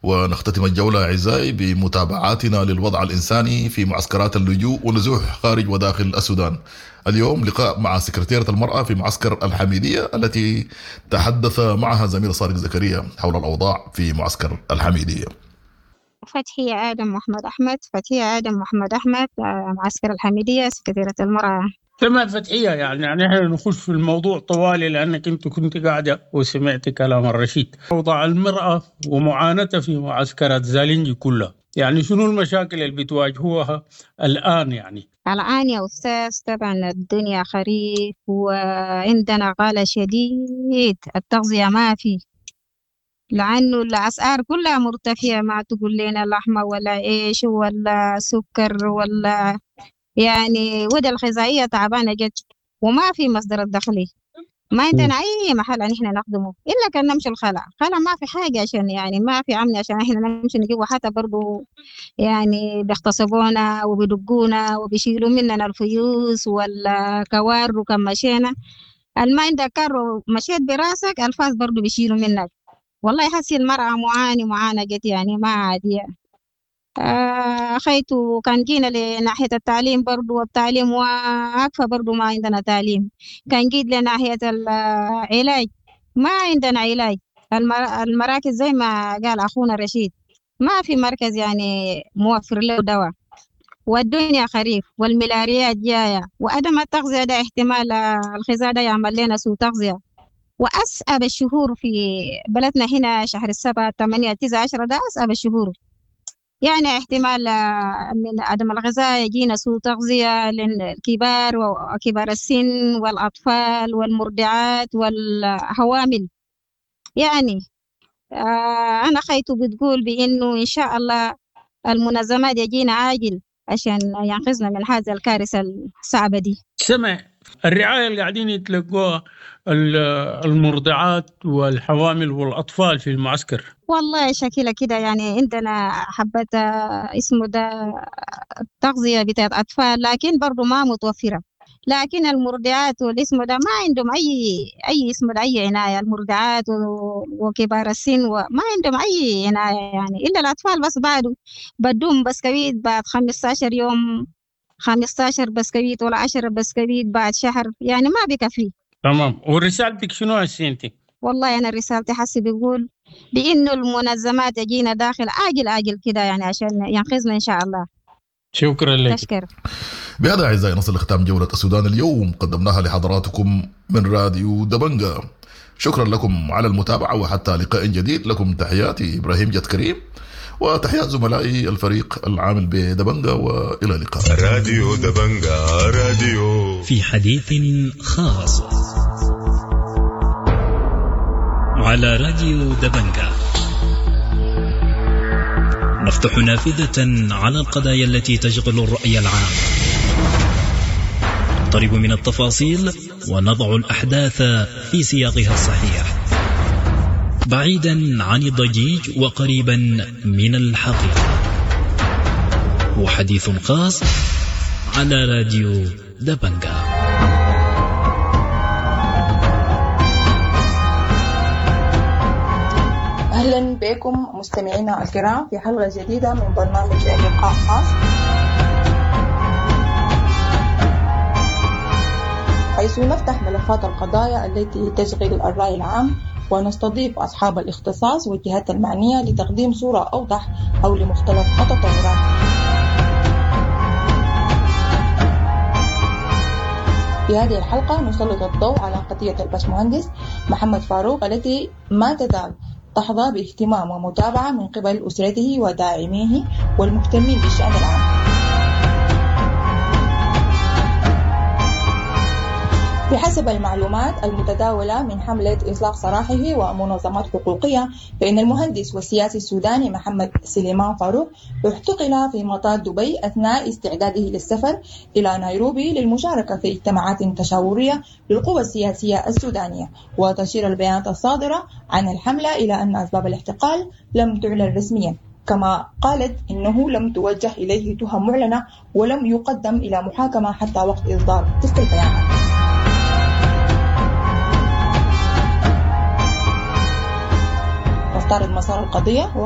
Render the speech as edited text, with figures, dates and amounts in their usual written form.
ونختتم الجولة أعزائي بمتابعاتنا للوضع الإنساني في معسكرات اللجوء ونزوح خارج وداخل السودان. اليوم لقاء مع سكرتيرة المرأة في معسكر الحميدية التي تحدث معها زميل صادق زكريا حول الأوضاع في معسكر الحميدية. فتحية آدم محمد أحمد، فتحية آدم محمد أحمد، معسكر الحميدية، سكرتيرة المرأة. تمام فتحية، يعني احنا نخش في الموضوع طوالي لأنك أنت كنت قاعدة وسمعت كلام الرشيد. وضع المرأة ومعاناتها في معسكرات زالينجي كلها، يعني شنو المشاكل اللي بتواجهوها الآن؟ يعني الآن يا أستاذ طبعا الدنيا خريف وعندنا غلا شديد، التغذية ما في، لأنه الأسعار كلها مرتفعة، ما تقول لنا لحمة ولا عيش ولا سكر ولا يعني ودى الغذائية تعبانة جد، وما في مصدر الدخلي، ما عندنا أي محل إن إحنا نخدمه إلا كان نمشي الخلا، خلا ما في حاجة عشان يعني ما في أمن عشان إحنا نمشي نجيبه، حتى برضو يعني بيغتصبونا وبيدقونا وبيشيلوا مننا الفيوس والكوار، وكم مشينا الما عندك كار مشيت براسك الفاس برضو بيشيلوا منك. والله حسي المرأة معاني معاناة جد يعني ما عادية. خيتو كان جينا لناحية التعليم برضو، والتعليم واقفة برضو ما عندنا تعليم. كان جيت لناحية العلاج ما عندنا علاج، المراكز زي ما قال أخونا رشيد ما في مركز يعني موفر له دواء، والدنيا خريف والملاريات جاية، وعدم التغذية ده احتمال الغذاء ده يعمل لنا سوء تغذية. وأصعب الشهور في بلدنا هنا شهر 7 8 9 10 ده أصعب الشهور، يعني احتمال من عدم الغذاء يجينا سوء تغذية للكبار وكبار السن والأطفال والمرضعات والحوامل. يعني أنا خيته بتقول بإنه إن شاء الله المنظمات يجينا عاجل عشان ينقذنا من هذا الكارثة الصعبة دي. سمع الرعاية اللي قاعدين يتلقوها المرضعات والحوامل والأطفال في المعسكر. والله شكلها كده يعني عندنا حبة اسمه ده تغذية بتاعت أطفال، لكن برضو ما متوفرة. لكن المرضعات والاسم ده ما عندهم أي اسم ده أي عناية، المرضعات وكبار السن وما عندهم أي عناية يعني، إلا الأطفال بس بعده بدوم بسكويت بعد 15 يوم، 15 بسكويت ولا 10 بسكويت بعد شهر، يعني ما بكفي. تمام. ورسالتك شنو هسه انت؟ والله أنا رسالتي حسي بيقول بإنه المنظمات تجينا داخل عاجل عاجل كده يعني عشان ينقذنا إن شاء الله. شكرا لك. تشكر. بهذا أعزائي نصل لختام جولة السودان اليوم، قدمناها لحضراتكم من راديو دبنجا. شكرا لكم على المتابعة، وحتى لقاء جديد لكم تحياتي إبراهيم جد كريم وتحيات زملائي الفريق العامل بدبنجا، وإلى اللقاء. راديو دبنجا راديو في حديث خاص على راديو دبنجا، نفتح نافذة على القضايا التي تشغل الرأي العام، نقترب من التفاصيل ونضع الأحداث في سياقها الصحيح، بعيدا عن الضجيج وقريبا من الحقيقة. وحديث خاص على راديو دبنجا. أهلا بكم مستمعينا الكرام في حلقة جديدة من برنامج لقاء خاص، حيث نفتح ملفات القضايا التي تشغل الرأي العام ونستضيف أصحاب الاختصاص والجهات المعنية لتقديم صورة أوضح حول مختلف التطورات. في هذه الحلقة نسلط الضوء على قضية الباشمهندس محمد فاروق التي ما تزال تحظى باهتمام ومتابعة من قبل أسرته وداعميه والمهتمين بالشأن العام. بحسب المعلومات المتداولة من حملة إطلاق سراحه ومنظمات حقوقية، فإن المهندس والسياسي السوداني محمد سليمان فاروق اعتقل في مطار دبي أثناء استعداده للسفر إلى نيروبي للمشاركة في اجتماعات تشاورية للقوى السياسية السودانية. وتشير البيانات الصادرة عن الحملة إلى أن أسباب الاعتقال لم تعلن رسميا، كما قالت إنه لم توجه إليه تهم معلنة ولم يقدم إلى محاكمة حتى وقت إصدار تلك البيانات. نستعرض مسار القضية.